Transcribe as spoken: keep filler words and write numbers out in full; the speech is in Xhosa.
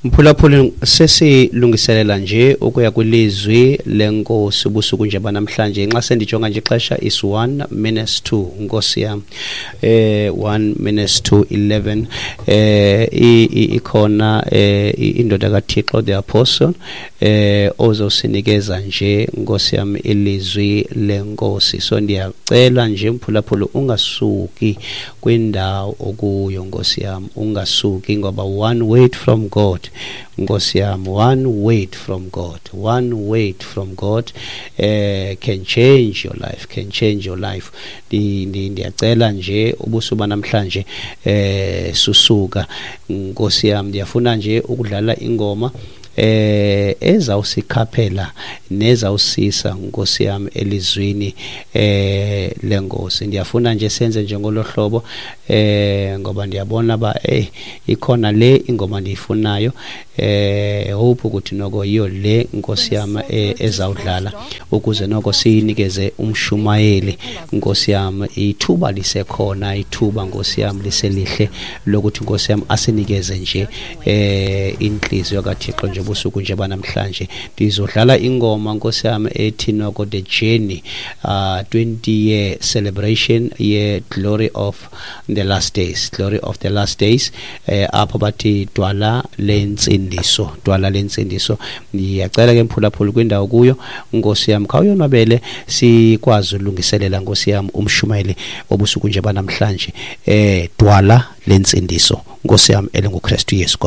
Mphulaphuli, sesilungiselela nje ukuya kwilizwi lenkosi ubusuku nje banamhlanje. Nxa sendijonga nje ixesha is one minutes to, nkosi yam, eh one minutes to eleven. eh ikhona eh indoda kaThixo, the apostle, eh ozosinikeza nje, nkosi yam, ilizwi lenkosi. So ndiyacela nje, mphulaphuli, ungasuki kwindawo okuyo, nkosi yam, ungasuki, ngoba one word from God, nkosi yam, one word from God, one word from God eh can change your life, can change your life. Ndiyacela nje ubusuku namhlanje, eh susuka, nkosi yam, ndiyafuna nje ukudlala ingoma eh ezawusikhaphela nezawusisa, nkosi yam, elizwini eh lenkosi. Ndiyafuna nje senze njengolohlobo, eh ngoba ndiyabona ba eh ikhona le ingoma ndiyifunayo. eh hope ukuthi noko yiyo le, nkosi yam, ezawudlala ukuze noko siyinikeze umshumayeli, nkosi yam. Ithuba lisekhona, ithuba, nkosi yam, liselihle lokuthi, nkosi yam, asinikeze nje eh inhliziyo kaThixo nje busuku nje banamhlanje. Ndizodlala ingoma, nkosi yam, ethi noko "The Journey", uh twenty year celebration ye Glory of the Last Days, Glory of the Last Days, eh apho bathi "Dwala Lentsindiso", "Dwala Lentsindiso". Ndiyacela ke, mphulaphula, kwindawo kuyo, nkosi yam, khawuyonwabele sikwazi ulungiselela, nkosi yam, umshumayeli obusuku nje banamhlanje. eh Dwala Lentsindiso, nkosi yam, elinguKristu Yesu.